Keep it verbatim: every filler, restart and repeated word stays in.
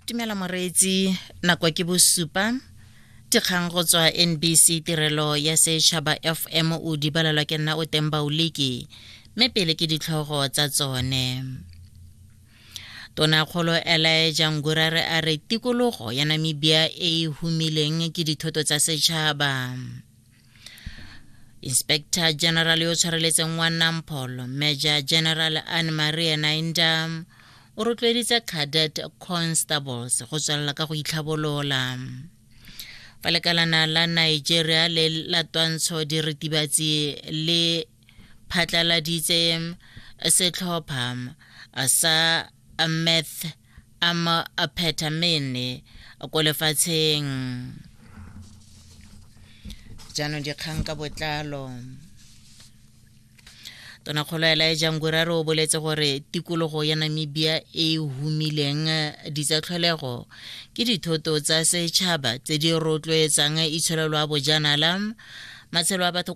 Dumela moreetsi, nako ke bosupa. Dikgang go tswa N B C Tirelo ya Setšhaba F M, o di balelwa ke nna o teng Baoliki, mme pele ke ditlhogo tsa tsone. Tonakgolo Elijah Ngurare a re tikologo ya Namibia e e humileng ke dithoto tsa setšhaba. Inspector General yo tshwareletseng wa NamPol, Major General Anne Marie Nainda, o rotloeditse cadet constables go tswelela ka go itlhabolola. Fa lekalana la Nigeria le la twantsho diritibatsi le phatlaladitse setlhopha sa meth amphetamine ko lefatsheng. Jaanong dikgang ka botlalo. Tonakgolo Elijah Ngurare o boletse gore tikologo ya Namibia e e humileng ditsatlholego ke dithoto tsa setšhaba tse di rotloetsang itsholelo ya bojanala, matshelo a batho.